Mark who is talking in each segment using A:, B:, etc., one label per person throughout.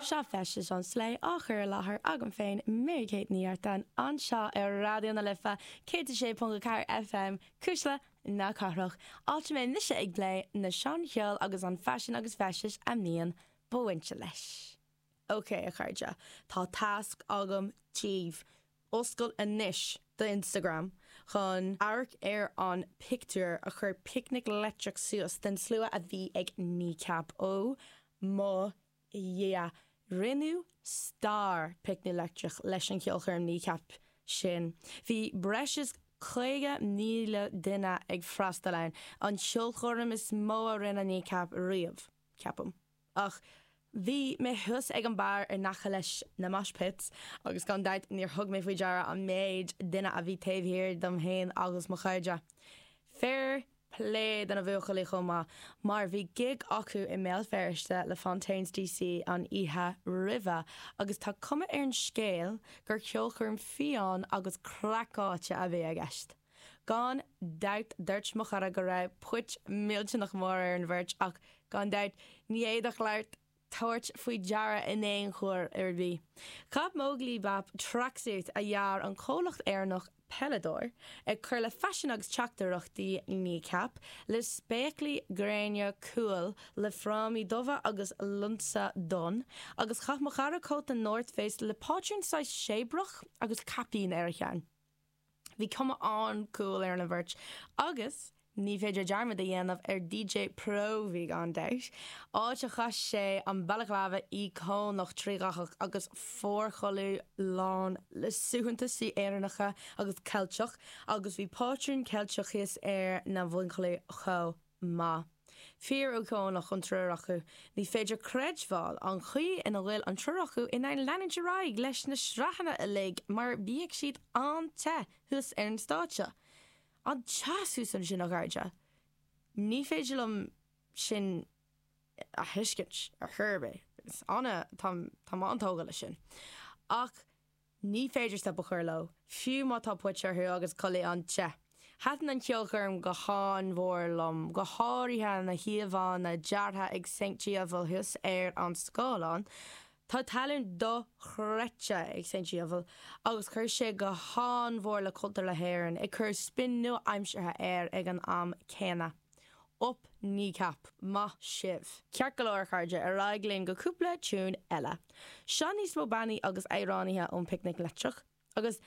A: Seo Feisteas an Slé á chur i láthair agam féin, Mary Kate Ní Artáin, anseo ar Raidió na Life 106.4 FM, Cuisle na Cathrach, áit a mbeidh mise ag plé na sean-cheol agus an faisean agus feisteas a mbíonn bainte leis. Ok, a chairde, tá tasc agam daoibh. Oscail anois do Instagram chun amharc ar an pictiúr a chuir Picnic Leictreach suas den slua a bhí ag Kneecap. Ó mo Dhia, rinneadh stair Picnic Leictreach leis an cheolchoirm Kneecap sin. Bhí breis is 50,000 duine ag freastal ann, an cheolchoirm is mó a rinne Kneecap riamh, ceapaim. Ach bhí mé thuas ag an beár in aice leis na mosh pits agus gan dabht níor thug mé faoi deara an méid duine a bhí taobh thiar dom féin agus mo chairde. Fair plé do na buachaillí chomh maith mar bhí gig acu i mBéal Feirste le Fontaines DC an oíche roimhe agus tá cuma ar an scéal gur ceolchoirm fiáin agus craiceáilte a bhí i gceist. Gan dabht dúirt mo chara go raibh poit millteanach mór ar an bheirt ach gan dabht ní fhéadfadh leat tabhairt faoi deara in aon chor ar bith. Chaith Móglaí Bap tracksuit a dhear an comhlacht Éireannach Peileadóir, ag cur le faisean agus teachtaireachtaí Kneecap, le spéaclaí gréine cool le frámaí dubha agus lionsa donn, agus chaith mo chara cóta North Face le pátrún saghas séabrach agus caipín ar a cheann. Bhí cuma an-cool ar an bheirt agus ní féidir dearmad a dhéanamh ar DJ Próvaí gan dabht, áit a chaith sé an balaclava íocónach trídhathach agus forchulaith lán le suaitheantaisí Éireannacha agus Ceilteach agus bhí pátrún Ceilteach thíos ar na mhuinchillí chomh maith. Fíor-íocónach an triúr acu. Ní féidir creidbheáil an chaoi ina bhfuil an triúr acu in ann leanúint ar aghaidh leis na sraitheanna uilig mar bíodh siad an-te thuas ar an stáitse. An teas thuas ansin, a chairde. Ní féidir liom sin a thuiscint ar chor ar bith. Is ana, táim, táim an-tógtha leis sin. Ach Ní féidir stop a chur leo, fiú má tá poit orthu agus culaith an-te. Thaitin an cheolchoirm go han-mhór liom, go háirithe na híomhánna deartha ag Saint Diabhal thuas ar an scáileán. Tá tallann dochreidte ag Saint Diabhal agus chuir sé go han-mhór le cultúr na hÉireann, ag cur spin nua-aimseartha air ag an am céanna. Up Kneecap! Maith sibh! Ceart go leor, a chairde, ar aghaidh linn go cúpla tiún eile. Seo níos mó bannaí agus amhránaithe ón Picnic Leictreach. Agus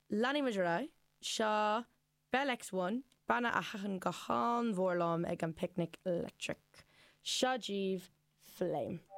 A: leanfaidh muid ar aghaidh. Seo Bell X1, banna a thaitin go han-mhór liom ag an Picnic Leictreach. Seo daoibh Flame.